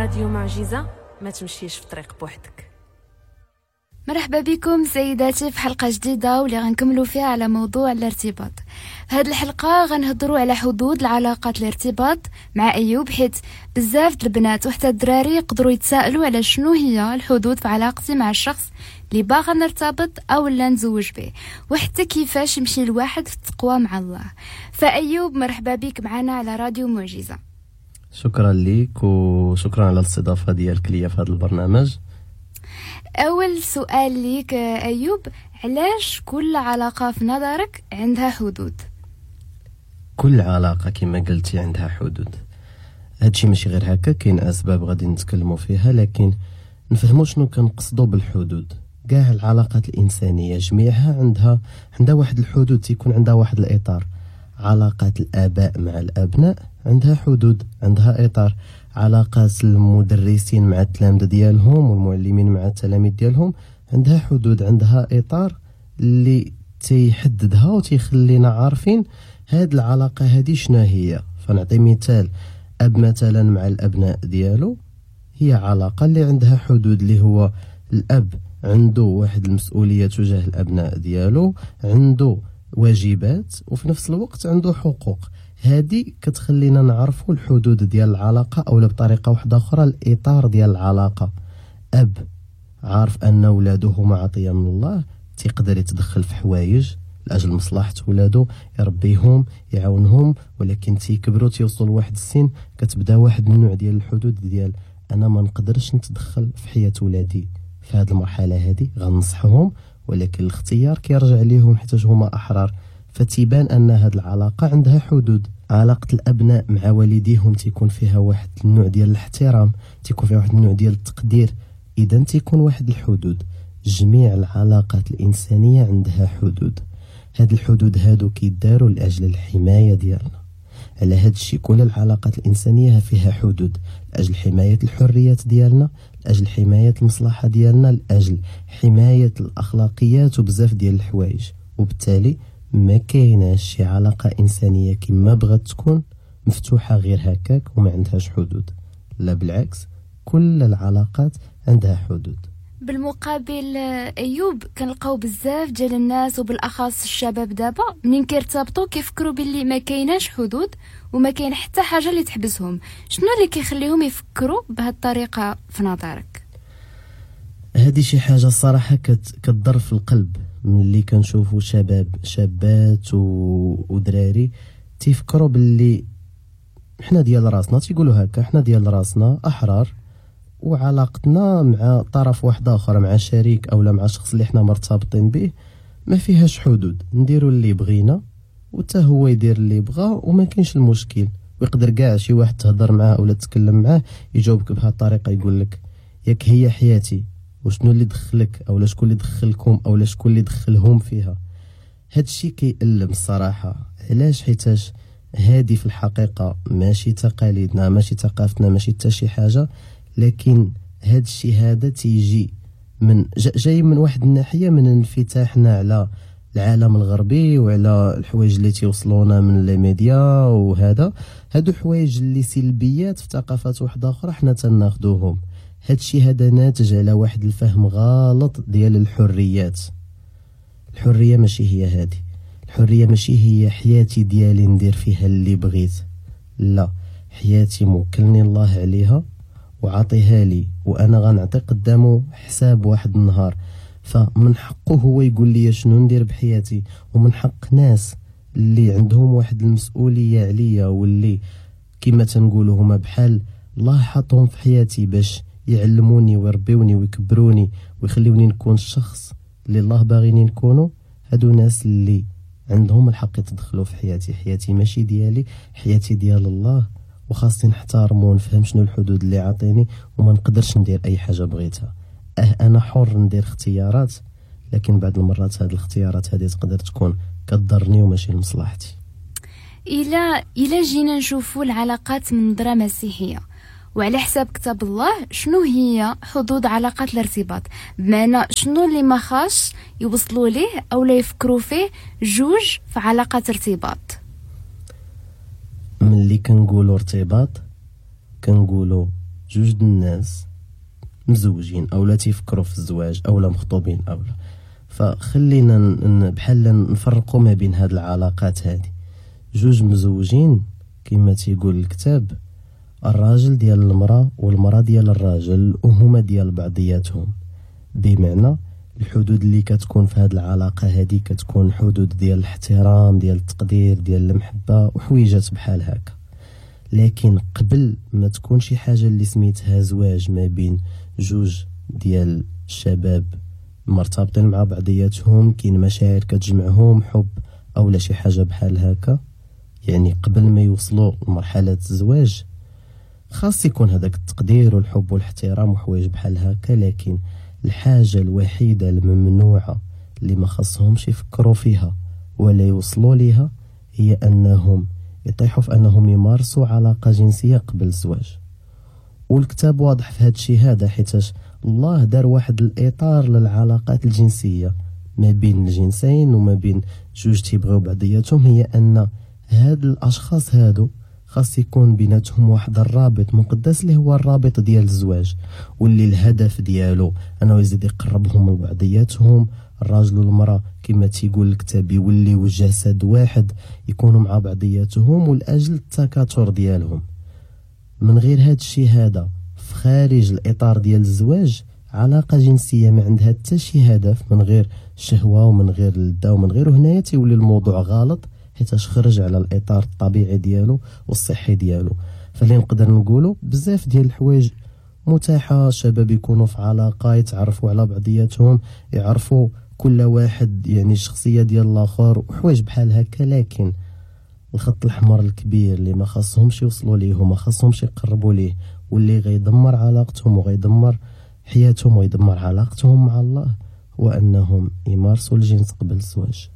راديو معجزة، ما تمشيش في طريق بوحدك. مرحبا بكم سيداتي في حلقة جديدة واللي غنكملوا فيها على موضوع الارتباط. في هذه الحلقة غنهضروا على حدود العلاقات الارتباط مع أيوب، حيت بزاف البنات وحتى الدراري يقدروا يتساءلوا على شنو هي الحدود في علاقتي مع الشخص اللي باغا نرتبط او لا نزوج به، وحتى كيفاش يمشي الواحد في التقوى مع الله. فأيوب مرحبا بك معنا على راديو معجزة. شكرا لك وشكرا على الاستضافة ديالك ليا في هذا البرنامج. أول سؤال ليك أيوب، علاش كل علاقة في نظرك عندها حدود؟ كل علاقة كما قلتي عندها حدود. هادشي ماشي غير هكا، كاين أسباب غادي نتكلموا فيها، لكن نفهموا شنو كنقصدوا بالحدود. كاع العلاقات الإنسانية جميعها عندها واحد الحدود، تيكون عندها واحد الإطار. علاقات الآباء مع الأبناء عندها حدود، عندها إطار. علاقات المدرسين مع التلامذة ديالهم والمعلمين مع التلاميذ ديالهم عندها حدود، عندها إطار اللي تيحددها وتيخلينا عارفين هاد العلاقة هادي شنو هي. فنعطي مثال، أب مثلا مع الأبناء ديالو هي علاقة اللي عندها حدود، اللي هو الأب عنده واحد المسؤولية تجاه الأبناء ديالو، عنده واجبات وفي نفس الوقت عنده حقوق. هادي كتخلينا نعرفوا الحدود ديال العلاقة، أو بطريقة واحدة أخرى الإطار ديال العلاقة. أب عارف أن ولاده هما عطية من الله، تيقدر يتدخل في حوايج لأجل مصلحة ولادو، يربيهم يعاونهم، ولكن تيكبروا تيوصلوا لواحد السن كتبدا واحد النوع ديال الحدود ديال أنا ما نقدرش نتدخل في حياة ولادي في هاد المرحلة هادي، غنصحهم ولكن الاختيار كيرجع ليهم حيت هما أحرار. فتيبان أن هاد العلاقة عندها حدود. علاقة الأبناء مع والديهم تيكون فيها واحد النوع ديال الاحترام، تيكون فيها واحد النوع ديال التقدير، إذن تيكون واحد الحدود. جميع العلاقات الإنسانية عندها حدود. هاد الحدود هادو كيداروا لأجل الحماية ديالنا. على هاد الشيء كل العلاقات الإنسانية فيها حدود، لأجل حماية الحريات ديالنا، لأجل حماية المصلحة ديالنا، لأجل حماية الأخلاقيات وبزاف ديال الحوايج. وبالتالي ما كايناش شي علاقة إنسانية كما بغات تكون مفتوحة غير هكاك وما عندهاش حدود. لا بالعكس، كل العلاقات عندها حدود. بالمقابل أيوب كنلقاو بزاف ديال الناس وبالأخص الشباب دابا منين كيرتبطوا كيفكروا باللي ما كايناش حدود وما كاين حتى حاجة اللي تحبسهم. شنو اللي كيخليهم يفكروا بهذه الطريقة في نظرك؟ هذه شي حاجة الصراحة كتضر في القلب ملي كنشوفوا شباب شابات ودراري تيفكروا باللي حنا ديال راسنا، تيقولوا هكا حنا ديال راسنا أحرار، وعلاقتنا مع طرف واحد آخر، مع شريك أو لا مع شخص اللي حنا مرتبطين به، ما فيهاش حدود، نديروا اللي بغينا وتا هو يدير اللي بغا وما كاينش المشكل. ويقدر كاع شي واحد تهضر معاه ولا تتكلم معاه يجاوبك بهذه الطريقة، يقول لك ياك هي حياتي، وشنو اللي دخلك أو لا شكون اللي دخلكم أو لا شكون اللي دخلهم فيها. هادشي كيألم الصراحة. علاش؟ حيتاش هادي في الحقيقة ماشي تقاليدنا، ماشي ثقافتنا، ماشي حتى شي حاجة، لكن هاد الشيء هذا تيجي من جاي من واحد الناحية من انفتاحنا على العالم الغربي وعلى الحوايج اللي تيوصلونا من les médias، وهذا هادو حوايج اللي سلبيات في ثقافات واحدة أخرى حنا تناخدوهم. هاد الشيء هذا ناتج على واحد الفهم غلط ديال الحريات. الحرية ماشي هي هادي، الحرية ماشي هي حياتي ديالي ندير فيها اللي بغيت، لا، حياتي موكلني الله عليها وعطيها لي وانا غنعطي قدامه حساب واحد النهار، فمن حقه هو يقول لي شنو ندير بحياتي، ومن حق ناس اللي عندهم واحد المسؤولية عليا واللي كما تنقولوا هما بحال الله حطهم في حياتي باش يعلموني ويربيوني ويكبروني ويخليوني نكون الشخص اللي الله باغيني نكونو. هادو ناس اللي عندهم الحق يتدخلوا في حياتي، حياتي ماشي ديالي، حياتي ديال الله، وخاصني نحترمو ونفهم شنو الحدود اللي عاطيني وما نقدرش ندير اي حاجة بغيتها. انا حر ندير اختيارات، لكن بعض المرات هاد الاختيارات هادي تقدر تكون كتضرني وماشي لمصلحتي. الى جينا نشوفوا العلاقات من نظره مسيحية وعلى حساب كتاب الله، شنو هي حدود علاقات الارتباط؟ بمعنى شنو اللي ما خاص يوصلوا ليه او لا يفكروا فيه جوج في علاقات ارتباط؟ ملي كنقولوا ارتباط كنقولوا جوج الناس مزوجين او لا تيفكروا في الزواج او لا مخطوبين او لا. فخلينا بحال نفرقوا ما بين هاد العلاقات هادي. جوج مزوجين كما تيقول الكتاب، الراجل ديال المرأة والمرأة ديال الراجل، وهما ديال بعضياتهم. بمعنى الحدود اللي كتكون في هاد العلاقة هادي كتكون حدود ديال الاحترام، ديال التقدير، ديال المحبة وحويجات بحال هكا. لكن قبل ما تكون شي حاجة اللي سميتها زواج ما بين جوج ديال الشباب مرتبطين مع بعضياتهم، كاين مشاعر كتجمعهم، حب او لا شي حاجة بحال هكا، يعني قبل ما يوصلوا لمرحلة الزواج خاص يكون هذاك التقدير والحب والاحترام وحوايج بحال هكا. لكن الحاجة الوحيدة الممنوعة اللي ما خاصهمش يفكروا فيها ولا يوصلوا ليها هي أنهم يطيحوا في أنهم يمارسوا علاقة جنسية قبل الزواج. والكتاب واضح في هذا الشيء هذا، حيتاش الله دار واحد الإطار للعلاقات الجنسية ما بين الجنسين وما بين جوج تيبغيو بعضياتهم، هي أن هاد الأشخاص هادو خاص يكون بيناتهم واحد الرابط مقدس اللي هو الرابط ديال الزواج، واللي الهدف ديالو انه يزيد يقربهم من بعضياتهم. الراجل والمرأة كما تيقول الكتاب يوليو جسد واحد، يكونوا مع بعضياتهم ولاجل التكاثر ديالهم. من غير هاد الشيء هذا في خارج الاطار ديال الزواج، علاقة جنسية ما عندها حتى شي هدف من غير الشهوة ومن غير اللذة ومن غير، هنايا تيولي الموضوع غلط حيتاش خرج على الاطار الطبيعي ديالو والصحي ديالو. فاللي نقدر نقولوا بزاف ديال الحوايج متاحة، الشباب يكونوا في علاقة، يتعرفوا على بعضياتهم، يعرفوا كل واحد يعني الشخصية ديال الاخر وحوايج بحال هكا. لكن الخط الاحمر الكبير اللي ما خاصهمش يوصلوا ليه وما خاصهمش يقربوا ليه واللي غيدمر علاقتهم وغيدمر حياتهم ويدمر علاقتهم مع الله، هو انهم يمارسوا الجنس قبل الزواج.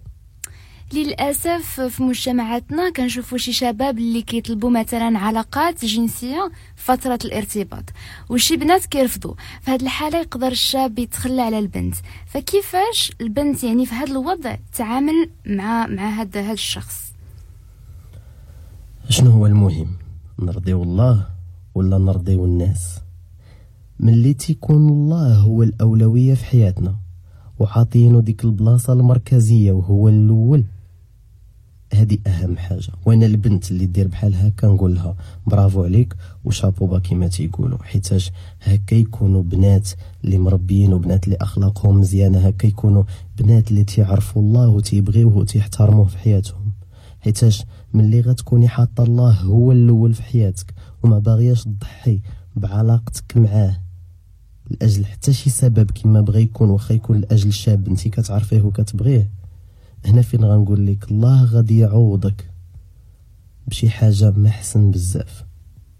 للأسف في مجتمعاتنا كنشوفوا شي شباب اللي كيطلبوا مثلا علاقات جنسية فترة الارتباط، وشي بنات كيرفضوا. في هذه الحالة يقدر الشاب يتخلى على البنت. فكيفاش البنت يعني في هذا الوضع تعامل مع هذا الشخص؟ شنو هو المهم، نرضيو الله ولا نرضيو الناس؟ ملي تيكون الله هو الأولوية في حياتنا وعاطينو ديك البلاصة المركزية وهو الأول، هذه اهم حاجة. وانا البنت اللي دير بحال هكا نقول لها برافو عليك و chapeau bas كما تيقولوا، حيتاش هكا يكونوا بنات اللي مربيين وبنات اللي اخلاقهم مزيانه، هكا يكونوا بنات اللي تيعرفوا الله وتيبغيوه وتيحترموه في حياتهم. حيتاش ملي غتكوني حاطه الله هو الاول في حياتك وما باغياش تضحي بعلاقتك معاه لاجل حتى شي سبب كما بغى يكون، واخا يكون لاجل شاب انت كتعرفيه وكتبغيه، هنا فين غنقول لك الله غادي يعوضك بشي حاجة ما حسن بزاف.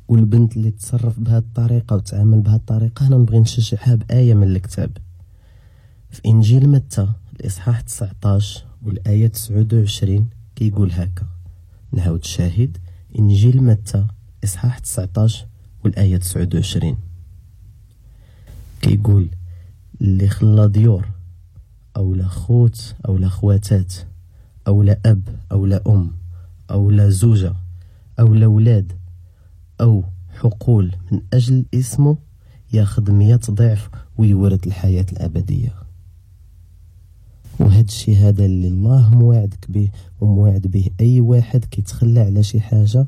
والبنت اللي تصرف بهذه الطريقة وتعامل بهذه الطريقة، هنا نبغي نشجعها بايه من الكتاب في انجيل متى الاصحاح 19 والايه 29 كيقول هكا. نعاود الشاهد، انجيل متى اصحاح 19 والايه 29 كيقول اللي خلا ديور او لا خوت او لا خواتات او لا اب او لا ام او لا زوجه او لا ولاد او حقول من اجل اسمه ياخذ 100 ضعف ويورث الحياة الابدية. وهذا الشيء هذا اللي الله موعدك به وموعد به اي واحد كيتخلى على شي حاجة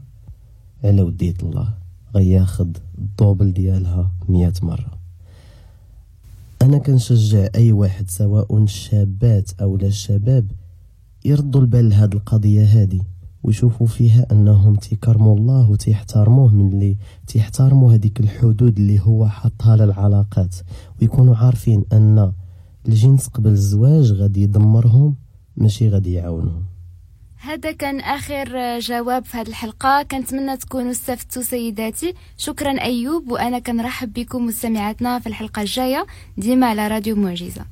على وديه الله، غياخذ ال double ديالها 100 مرة. انا كنشجع اي واحد سواء الشابات او لا الشباب يردوا البال لهاد القضية هذه ويشوفوا فيها انهم تيكرموا الله وتيحترموه من اللي تيحترموا هذيك الحدود اللي هو حطها للعلاقات، ويكونوا عارفين ان الجنس قبل الزواج غادي يدمرهم ماشي غادي يعاونهم. هذا كان آخر جواب في هذه الحلقة، كنتمنى تكونوا استفدتوا سيداتي. شكرا أيوب، وأنا كنرحب بكم مستمعاتنا في الحلقة الجاية ديما على راديو معجزة.